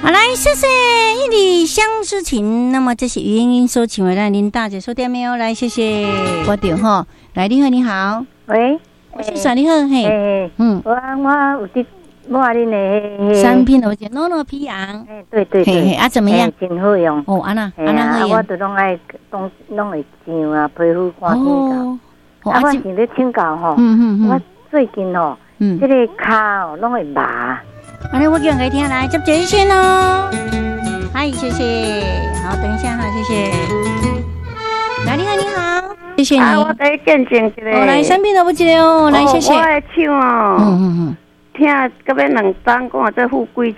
好，來，謝謝一縷相思情。那麼這是余英英所唱的，咱林大姐說點沒有？來，謝謝。我對吼，來，你好，你好。喂，我是啥？你好，嘿，嗯，我有佇抹恁的產品，我叫諾諾皮揚。哎，對對對，啊，怎麼樣？真好用。哦，按怎，按怎好用？我就攏愛攏會上啊，皮膚看天到。啊，我想咧請教吼，我最近吼，這個跤哦攏會麻。按呢，我叫人聽來接熱線哦。嗨，謝謝。好，等一下哈，謝謝。來，你好，你好，謝謝你。啊，我來見證一下。哦，來，身邊都不記得哦。來，謝謝。我的手哦，疼到欲2冬，講這富貴手，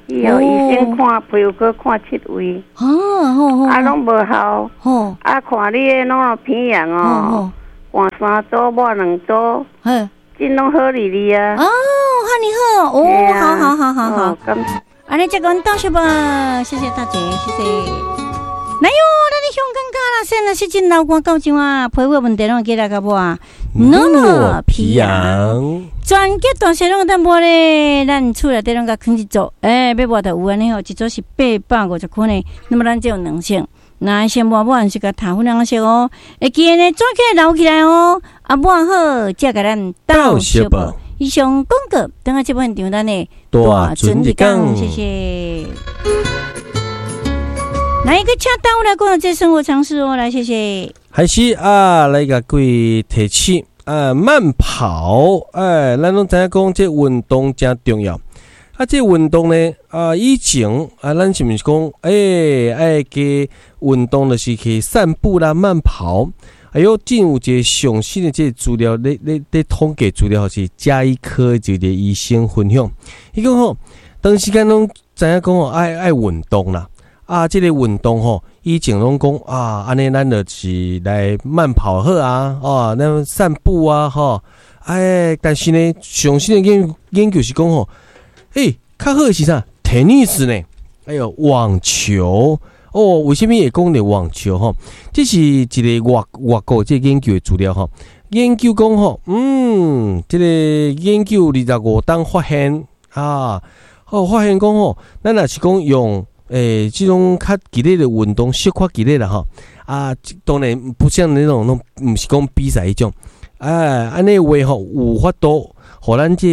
去予醫生看，皮膚科看七位。啊，攏無效。啊，看你的諾諾皮揚哦，換三組，抹兩組。真攏好哩哩啊！哦，哈你好，哦，好好好好好。按呢，這個道謝吧，謝謝大姐，謝謝。來喲，咱的香港家啦，現在是真流汗到這啊，皮膚問題攏會記來共抹。諾諾皮揚，全國大細攏會當抹咧，咱厝內底攏共囥一組，欸，欲抹就有按呢吼，一組是850塊呢。那麼咱這有兩色，那先抹抹是共頭粉兩色哦，會記得呢，轉起來留起來哦。啊，抹好，才共咱鬥相報。以上廣告，等下這本場咱的大船入港，謝謝。來一個請大來講這生活常識哦，來謝謝。還是啊，來共各位提醒啊，慢跑，哎，咱攏知影講這運動誠重要。啊，這運動呢，啊，以前啊，咱是毋是講，欸，愛加運動就是去散步啦、慢跑。哎喲，近有一個上新的這個資料，咧統計資料是家醫科一個醫生分享。伊講吼，長時間攏知影講吼，愛運動啦。啊，這個運動吼，以前攏講啊，按呢咱就是來慢跑好啊，哦，咱散步啊，吼。哎，但是呢，上新的研究是講吼，欸，較好的是啥？tennis 呢？哎喲，網球。哦，為啥物會講著網球吼？這是一個外國這個研究的資料吼。研究講吼，這個研究25冬發現啊，哦，發現講吼，咱若是講用這種較激烈的運動，小可激烈啦吼，啊，當然不像那種攏毋是講比賽彼種，哎，按呢話吼有法度，予咱這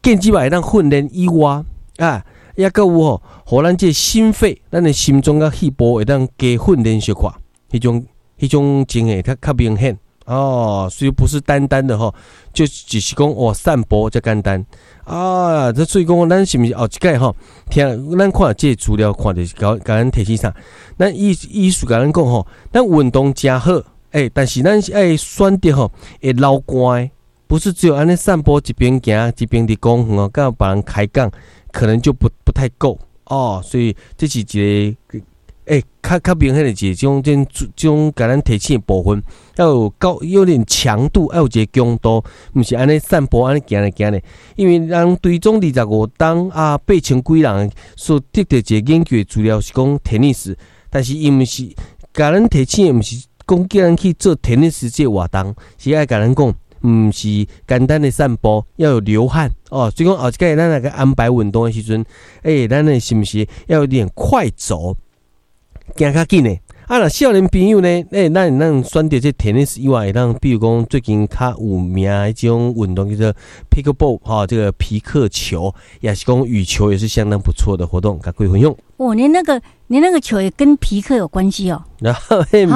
健肌會當訓練以外啊。抑閣有吼，予咱這心肺，咱的心臟佮肺部會當加訓練小可，彼種情形較明顯哦。所以不是單單的吼，就只是講哦散步遮簡單啊。這所以講，咱是毋是後一擺吼，聽咱看這個資料，看著是共咱提醒啥？咱醫師共咱講吼，咱運動誠好，欸，但是咱是愛選擇吼會流汗的，不是只有按呢散步一邊行一邊佇公園哦，佮別人開講。可能就不太夠哦，所以這是一個欸，較明顯的一個這種共咱提醒的部分，要有高有點強度，要有一個強度，毋是按呢散步按呢行來行咧。因為人追蹤25冬啊，8000幾人所得著一個研究的資料是講 tennis，但是伊毋是共咱提醒的，毋是講叫咱去做 tennis 這個活動，是愛共咱講，毋是簡單的散步，要有流汗哦。所以講後一擺咱來個安排運動的時陣，欸，咱的是毋是要有點快走，行較緊的？啊，若少年朋友呢？欸，咱選擇這 tennis 以外，會當比如講最近較有名的這種運動叫做 pickleball 哈，這個皮克球，也是講羽球，也是相當不錯的活動，共各位分享。哦，你那個球也跟皮克有關係哦。然後彼名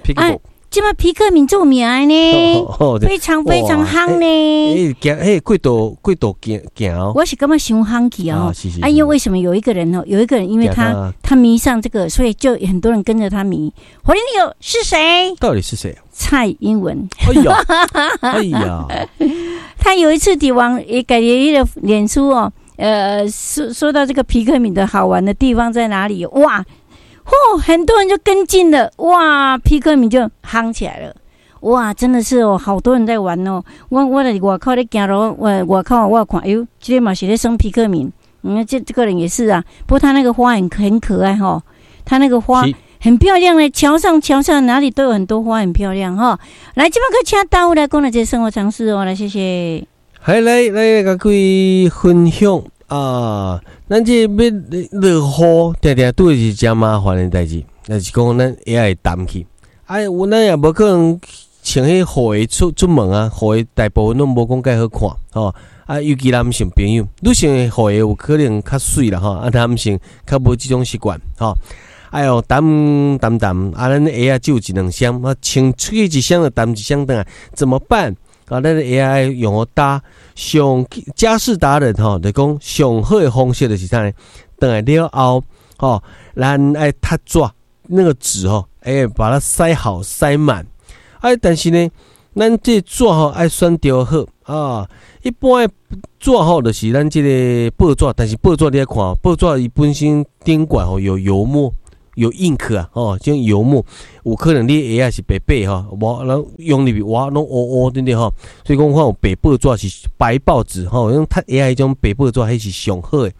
pickleball。這馬皮克敏著名呢，非常非常夯呢。欸，行，欸，過度過度行行哦。我是感覺傷夯去哦。啊，因為為什麼有一個人哦？有一個人，因為他迷上這個，所以就很多人跟着他迷。火力有是誰？到底是誰？蔡英文。哎呀，哎呀，他有一次佇網也改了一個臉書哦，說到這個皮克敏的好玩的地方在哪裡？哇！嚯，很多人就跟進了，哇，皮克敏就夯起來了，哇，真的是哦，好多人在玩哦。我佇外口咧行路，我外口我看，哎喲，這個嘛是咧耍皮克敏，嗯，這個人也是啊。不過他那個花很可愛哈，他那個花很漂亮嘞，橋上哪裡都有很多花，很漂亮哈。來，這擺閣請大武來講的這生活常識哦，來謝謝。還來來共各位分享。啊，咱這欲落雨，定定拄著是誠麻煩的代誌，就是講咱鞋會澹去。啊，有咱也無可能穿彼雨鞋出門啊，雨鞋大部分攏無講蓋好看，吼。啊，尤其男性朋友，女性的雨鞋有可能較媠啦，吼。啊，男性較無這種習慣，吼。哎喲，澹澹澹，啊，咱鞋仔只有一兩雙，啊，穿出去一雙就澹一雙轉來，怎麼辦？啊，咱鞋仔愛用予焦，上家事達人吼，就講上好的方式就是啥呢？轉來了後，吼，咱愛貼紙，那個紙吼，欸，把它塞好塞滿。啊，但是呢，咱這紙吼愛選著好啊。一般的紙吼，就是咱這個報紙，但是報紙你愛看，報紙伊本身頂懸吼有油墨。有 ink 啊，吼，這種油墨有可能你鞋仔是白白吼，無咱用入去哇，攏烏烏對不對吼？所以講，看有白報紙是白報紙吼，用貼鞋仔彼種白報紙，彼是上好的。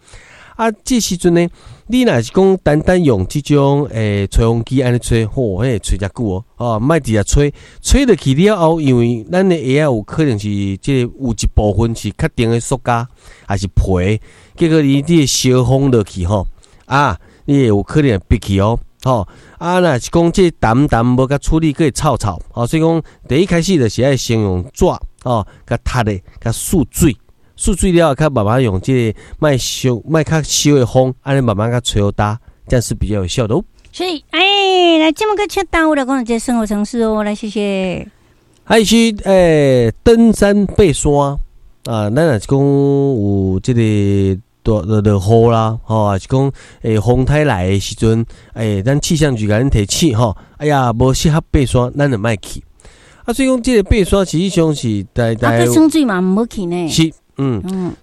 啊，這時陣呢，你若是講單單用這種吹風機按呢吹，吼，彼會吹誠久哦，哦，莫直接吹，吹落去了後，因為咱的鞋仔有可能是這個有一部分是較定的塑膠，還是皮，結果你這個燒風落去吼，啊。你會有可能會閉去哦，吼啊！若是講這澹澹無共處理，閣會臭臭，吼，所以講第一開始就是愛先用紙，吼，共貼咧，共欶水，欶水了後，較慢慢用這個莫燒，莫較燒的風，按呢慢慢共吹予焦，這樣是比較有效的哦。所以，哎，來這麼個請耽誤了，講這生活常識哦，來謝謝。還是登山爬山啊，咱若是講有這個。落落雨啦，吼，還是講風颱來的時陣，咱氣象局共咱提醒吼，哎呀，無適合爬山，咱就莫去。啊，所以講這個爬山實際上是台台。啊，去水嘛毋好去呢。是，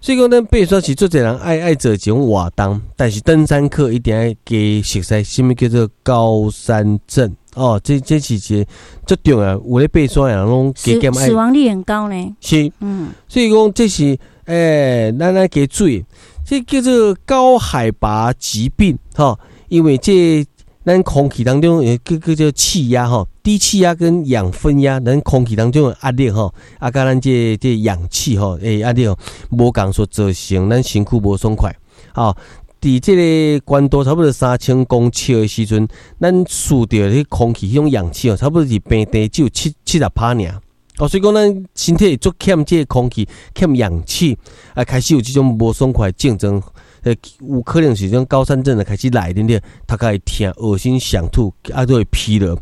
所以講咱爬山是足濟人愛做這種活動，但是登山客一定愛加熟悉啥物叫做高山症哦，這是一個足重要，有咧爬山的人攏加減愛。死亡率很高呢。是，所以講這是咱愛加注意。這叫做高海拔疾病，吼，因為這咱空氣當中叫做氣壓，吼，低氣壓跟氧分壓，咱空氣當中的壓力，吼，啊，佮咱這氧氣，吼，壓力無仝所造成咱身軀無爽快，吼，佇這個高度差不多3000公尺的時陣，咱吸著彼空氣彼種氧氣哦，差不多是平地只有70%爾。哦，所以講咱身體會足欠這個空氣，欠氧氣，啊，開始有這種無爽快的症狀，有可能是這種高山症的開始來，對不對？頭殼會疼、噁心、想吐，啊，都會疲勞。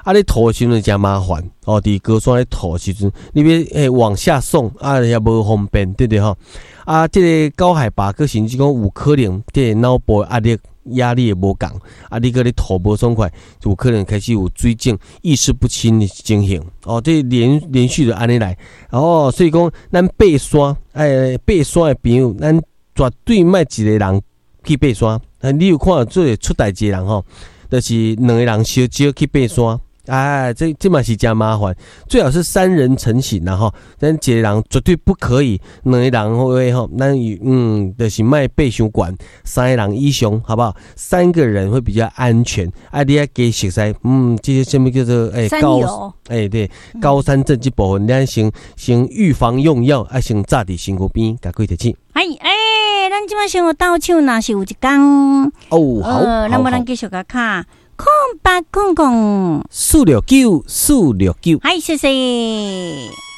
啊，你吐的時陣誠麻煩，哦，佇高山咧吐的時陣，你欲往下送，啊，也無方便，對不對吼？啊，這個高海拔，閣甚至講有可能，這個腦部壓力會無仝，啊，你閣咧吐無爽快，就有可能開始有水腫、意識不清的情形。哦，這連續的按呢來，哦，所以講咱爬山，爬山的朋友，咱絕對莫一個人去爬山。你有看做出代誌的人吼，就是兩個人相招去爬山。哎，這嘛是誠麻煩，最好是三人成行啦吼。咱一個人絕對不可以，兩個人話吼，咱就是莫爬傷懸，三個人以上，好不好？三個人會比較安全。啊，你愛加熟悉，這些啥物叫做高，對，高山症這部分，咱先預防用藥，啊，先紮佇身軀邊，共各位提醒。哎哎，咱這擺先有鬥手，若是有一工哦，好，那麼咱繼續共敲。0800 469 469，嗨，謝謝。